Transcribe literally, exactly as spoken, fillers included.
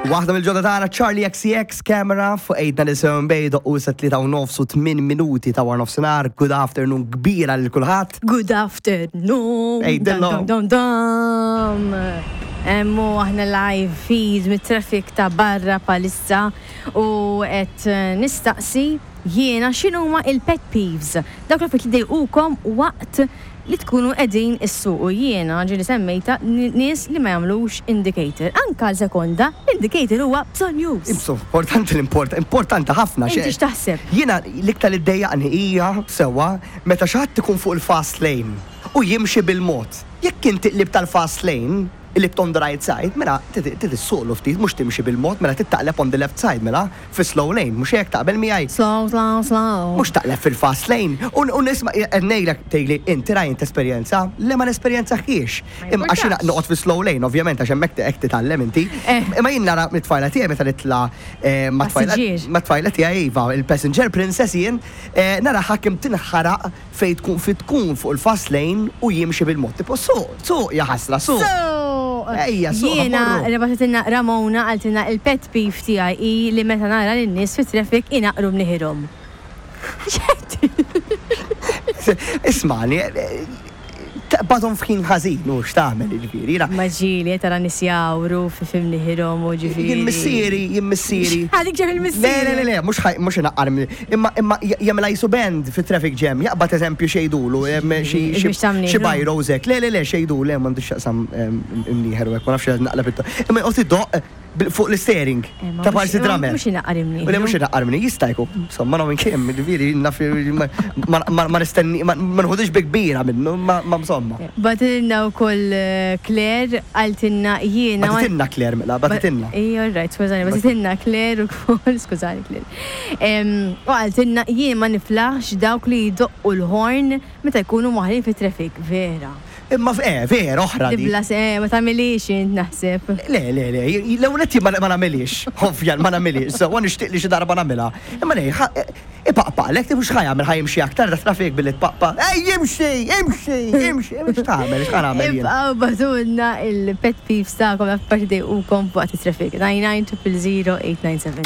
Waħda mill-ġodda tagħna, Charli X C X, Camera, fuq eight ninety-seven Bay, doqqu sa tlieta u nofs u tmien minuti ta' wara nofsinhar. Good afternoon kbira lil kulħadd. Good afternoon. Hey, Dum, Dillo. dum, dum, dum. Emmu aħna live feed mit-traffic ta' barra palissa u qed eh, nistaqsi jiena x'inhuma il-pet peeves. Dawk l-affarijiet li dejqukom waqt li tkunu qegħdin issuqu. Jiena ġieli semmejta n- nies li ma jagħmlux indicator. Anka għal sekonda, indicator huwa bżonnjuż. Imsu, importanti l-import, importanti ħafna. Inti xe- x'taħseb? Jiena l-iktar li ddejjaqni hija sewwa meta xi ħadd ikun fuq il-fast lane u jimxi bil-mod. Jekk inti qlib tal-fast lane, qlibt on the right side, mela trid issuqlu ftit, mhux timxi bil-mod, mela taqleb on the left side, mela fi slow lane, mhux hekk, taqbel miegħi? Slow, slow, slow. Mhux taqleb fil-fast lane. U u nisma' ngħidlek, tgħidli inti rajt esperjenza, le ma nesperjenzaħiex. Ma Imma għax jiena jimpurtax. noqgħod fi slow lane, ovvjament, għax hemmhekk hekk titgħallem inti. Eh. Imma jien nara mit-tfajla tiegħi meta nitla' eh, ma' tfajla Passiġġier. ma' tfajla tiegħi, iva, il-passenger princess jien, eh, nara ħakim tinħaraq fejn tkun fi tkun fuq il-fast lane u jimxi bil-mod. Tipo suq, suq, ja ħasra, suq. So, Ejja, suq, jiena ħa mmorru. bagħtitilna Ramona, qaltilna il-pet peeve tiegħi hi li meta nara lin-nies fit-traffic inaqru mniħirhom. Ismani, eh, taqbadhom f'ħin ħażin, u x'tagħmel, jiġifieri. Jiena Ma ġieli tara nies jawru fi fi mniħirhom u ġifieri. Jien missieri, jien missieri. Għadik ġeb Le, il-missieri. le, le, le, mhux ħaj, mhux inaqqar minn- imma imma jagħmilha jisu band fi traffic jam, jaqbad eżempju xejdulu, em, xi xi Biex ta' mnieħru. xi bajro zek. Le, le, le, xejdulu, le, m'għandux x'jaqsam em, imnieħer u hekk, ma nafx naqleb it. Imma joqgħod idoq bil- fuq l-steering Eh, ma ta' mhux- parsi ma drummer. mhux inaqqar imnieħru. U le, mhux inaqqar minni, jista' jkun. Insomma, no minn kemm, ġifieri, naf ma- ma ma- ma nistenni, ma ma nħudix bi kbira minnu, ma ma insomma. Bagħtitilna wkoll eh, Claire, qaltilna jiena. Bagħtitilna Claire, mela, bagħtitilna. Ej, all right, skużani, bagħtitilna Claire ukoll, skużani Claire. Em, U qaltilna jien ma niflaħx dawk li jdoqqu l-horn meta jkunu maħlin fit-traffic, vera. Imma eh, vera oħra di. Dibla se, ma tagħmilix int naħseb. Le, le, le, l-ewwel ma ma nagħmilix, ovvja ma nagħmilix, so nixtieq li xi darba nagħmilha. Imma le, ipaqpaqlek, tibux ħa jagħmel, ħa jimxi aktar da traffic billi tpaqpa. Ej, jimxi, imxi, imxi, imxi, x'tagħmel, x'ħa nagħmel jien? Ibqgħu ibagħtulna il-pet peeves tagħkom, affarijiet dejqukom waqt it-traffic. nine nine zero zero eight nine seven.